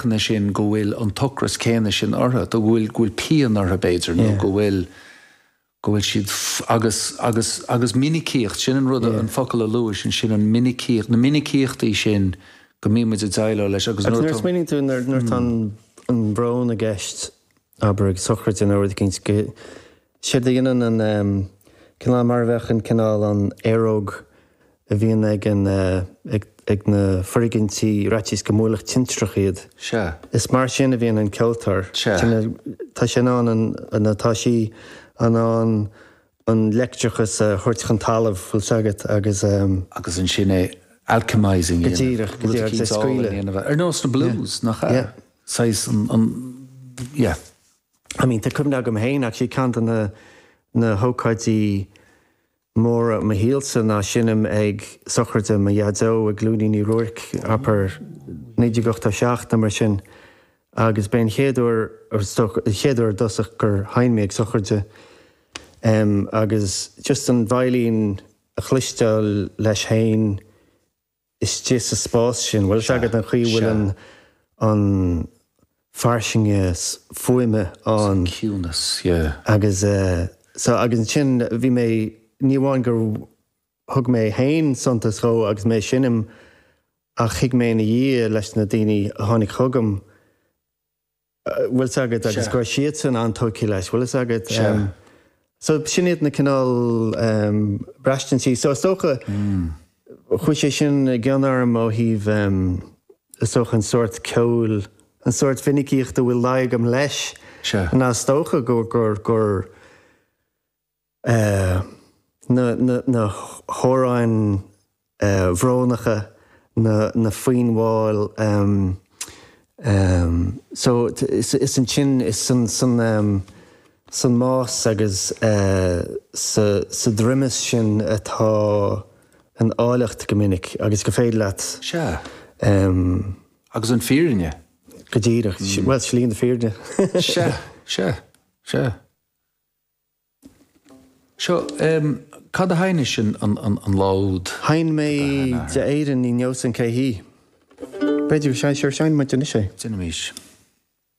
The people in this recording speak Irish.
féachana sin go bhfuil an t-ocras céanna sin orthu, go bhfuil, go bhfuil pian orthu b'fhéidir nó go bhfuil, go bhfuil siad, agus, agus, agus minicíocht, sin an rud, an focal a luais ansin, an minicíocht, na minicíochtaí sin go mbíonn muid ag déileáil leis agus nuair a smaoiníonn tú nuair atá an brón i gceist, abair ag sochraid nó rud eicínt, go, séard a dhéanann an cineál mar a bheadh an cineál an aeróg a bhíonn ag an, ag, ag na foirgintí ar fhaitíos go mbuailfeadh tintreach iad. Sea. Is mar sin a bhíonn an ceoltóir. Sea. Tá sé in ann an, nó tá sí in ann an leictreachas a thabhairt chun talaimh, bhfuil 's agat, agus. Agus ansin é alchemising a dhéanamh. Go díreach, go díreach, agus é scaoileadh. Ar nós na blues, nach ea? Yeah. Saghas an, an, yeah. I mean, tá cuimhne agam féin, actually, ceann de na, na hócáidí móra i mo shaolsa ná seinm ag sochraide mo dhaideo i gCluainín Uí Ruairc, abair 1987 nó mar sin, agus b'é an chéad uair, is dócha, an chéad uair i dtosach gur sheinn mé ag sochraide agus just an veidhlín a chloisteáil leis féin, istigh sa spás sin, bhfuil 'fhios agat an chaoi a bhfuil an an fairsinge fuaime ann. An ciúnas, yeah. Agus so agus ansin bhí mé, ní amháin gur thug mé féin suntas dhó agus mé ag seinm ach thuig mé ina dhiaidh leis na daoine a tháinig chugam, bhfuil 's agat, agus go raibh siadsan an-tógtha leis, bhfuil 'fhios agat. Sea. So sin iad na cineál braistintí. So is dócha, chuaigh sé sin i gcion orm ó thaobh, is dócha an sórt ceoil, an sórt mhinicíochta a bhfuil luí agam leis. Sea. Ná is dócha gur, gur, gur, na hamhráin bhrónacha, na foinn mhall. So is ansin, is san mbás agus sa droimeas sin atá an áilleacht go minic agus gur féidir leat. Sea. Agus an fírinne. Go díreach. Bhuel, slí na fírinne. Sea, sea, sea. Seo, cad a sheinnis an lá úd? Sheinn mé D'éirinn ní neosainn cé hí. B'fhéidir go, sure, seinnfidh muid anois é. Déanaimis.